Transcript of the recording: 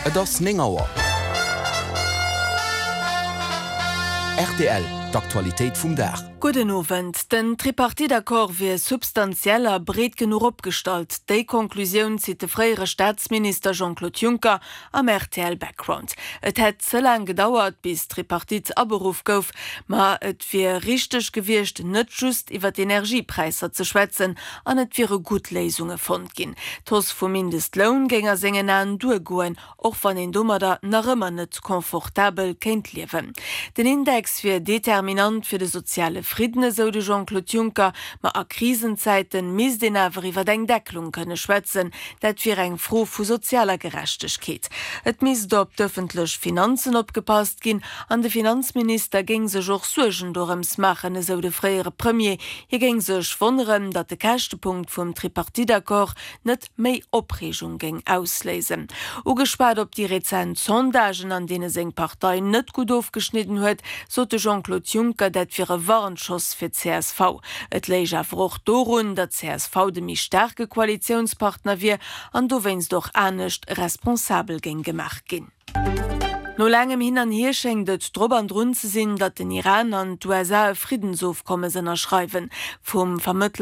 Et ass 9 Auer. Rtl, D'Aktualitéit vum Dag. Gudden Owend. Den Tripartite-Accord wier substantiell a breet genuch opgestallt. Déi Konklusioun zitt de fréiere Staatsminister Jean-Claude Juncker am rtl Background. Et hätt ze laang gedauert, bis d'Tripartite aberuff gouf, ma et wier richteg gewiescht, net just iwwer d'Energiepräisser ze schwätzen an et wiere gutt Léisunge fonnt ginn. D'Hausse vum Mindestloun géing a sengen Aen duergoen, och wann een domadder nach ëmmer net confortabel kéint liewen. Den Index wier determinant fir de soziale Fridden, esou de Jean-Claude Juncker. Ma a Krisenzäite misst een awer iwwer eng Deckelung kënne schwätzen. Dat wier eng Fro vu sozialer Gerechtegkeet. Et misst op d'ëffentlech Finanzen opgepasst ginn an de Finanzminister géing sech och Suergen dorëms maachen, esou de fréiere Premier. Hie géing sech wonneren, datt de Käschtepunkt vum Tripartite-Accord net méi Opreegung géing ausléisen. Ugeschwat op déi rezent Sondagen, an deene seng Partei net gutt ofgeschnidden huet, sot de Jean-Claude Juncker, dat wier e Warnschoss fir d'CSV. Et léich awer och dorun, datt csv de méi staarke Koalitiounspartner wier an dowéinst och anescht responsabel géing gemaach ginn. No laangem Hin an Hier schéngt et drop an drun ze sinn, datt den Iran an d'USA e Friddensofkommes ënnerschreiwen. Vum Vermëttler.